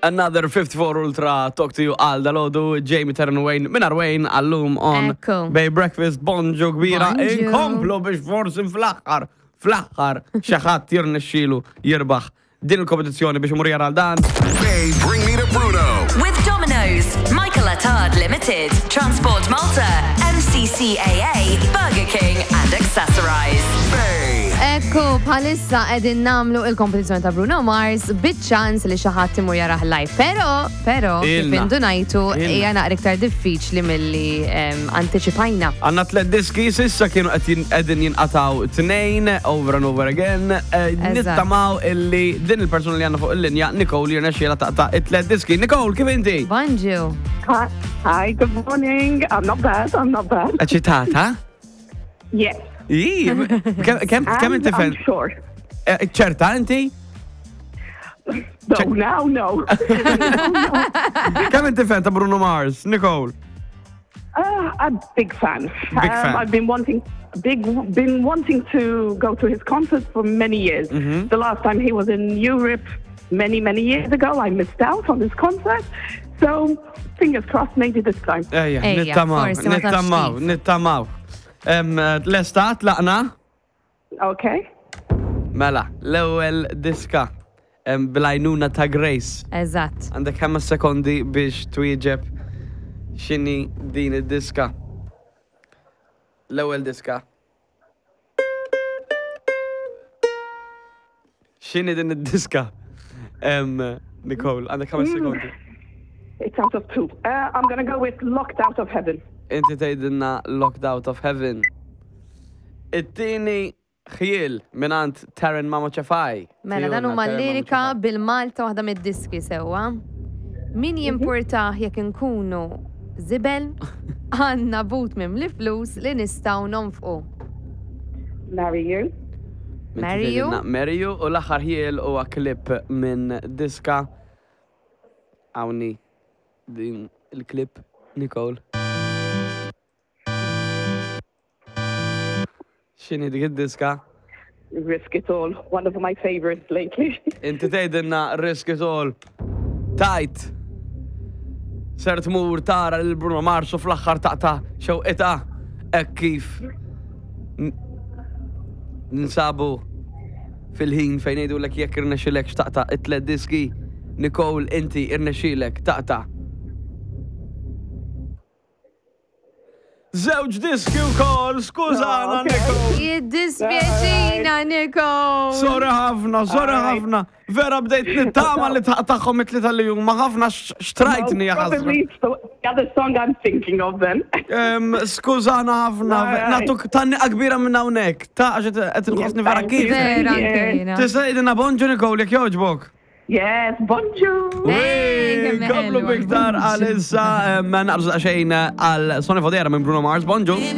Another 54 Ultra Talk to you għal dalodu Jamie Terran Wayne minn Wayne għallum on Ekku. Bay Breakfast bonġu kbira Bonġu. inkomplu biex forsi fl-aħħar fl-aħħar xi ħadd jirnexxielu jirbaħ din il-kompetizzjoni biex imur jara għal dan. Bay, bring me to Bruno. With Domino's, Michael Attard Limited, Transport Malta, MCCAA, Burger King and Accessorize. Bay. Ekku, bħalissa qegħdin nagħmlu il-kompetizzjoni ta' Bruno Mars biċ-ċans li xi ħadd imur jarah live. Però, però, kif Ilna. indunajtu Ilna. hija naqra iktar diffiċli milli em, antiċipajna. Għanna tlet diski sissa kienu qed jin- qegħdin jinqataw tnejn over and over again. Eh, Eżatt. Nittamaw illi din il-persuna li għandna fuq il-linja Nicole jirnexxiela taqta' it-tlet diski. Nicole, kif inti? Bonġu. Hi, hi, good morning. I'm not bad. I'm not bad. Eċitata? Yes. Iji, kem kem And inti I'm fen? sure. Eh, ċerta inti? No, now, no. Kemm inti fan ta' Bruno Mars, Nicole? Uh, I'm a big fan. Big fan. I've been wanting, big, been wanting to go to his concerts for many years. Mm-hmm. The last time he was in Europe, many, many years ago, I missed out on his concert. So, fingers crossed, maybe this time. Ejja, Ejja, nittamaw, forsi ma tafx nittamaw, kif. nittamaw. Em, eh, Lesta, tlaqna? Okay. Mela, l-ewwel diska em, bil-għajnuna ta' Grace. Eżatt. Għandek 5 sekondi biex twieġeb x'inhi din id-diska. L-ewwel diska. X'inhi din id-diska? Em, Nicole, għandek 5 sekondi. It's out of two. Uh, I'm going to go with Locked Out of Heaven. Inti tgħidilna Locked Out of Heaven. It-tieni ħjiel mingħand Taryn Mamo Ċefaj. Mela dan huma lirika bil-Malta waħda mid-diski sewwa. Min jimpurtah jekk inkunu żibel, għandna but mimli flus li nistgħu nonfqu. Marry You. Marry You. Marry You u l-aħħar ħjiel huwa klip minn diska. Hawnni din il-klip Nicole. X'inhi dik id-diska? Risk It All. One of my favorites lately. Inti tgħidilna risk it all. Tajt. Ser tmur tara lil Bruno Mars u fl-aħħar taqta' xewqitha hekk kif n- ninsabu fil-ħin fejn ngħidulek jekk irnexxilek x'taqta' it-tlet diski. Nicole, inti irnexxilek taqta' Żewġ diski wkoll, skużana Okay. Nicole. Jiddispjaċina, Nicole! Sorry ħafna, sorry Alright. ħafna. Vera bdejt nittama li taqtaħħom it-tlieta li huma ħafna x- xtrajtni ja ħasra. Probably it's the the other song I'm thinking of then. Em, Skużana ħafna, Alright. natuk tanniqa kbira minn hawnhekk. Ta' għax qed inħossni vera Thank you. kif. Vera Yeah. anke jiena. Tista' tgħidilna bonġu Nicole jekk jogħġbok. Yes, bonjour. Hey, kemm Komplu ħelwa. biktar għal issa ma naqbżu xejn għal Sonny Fodera minn Bruno Mars. Bonġu.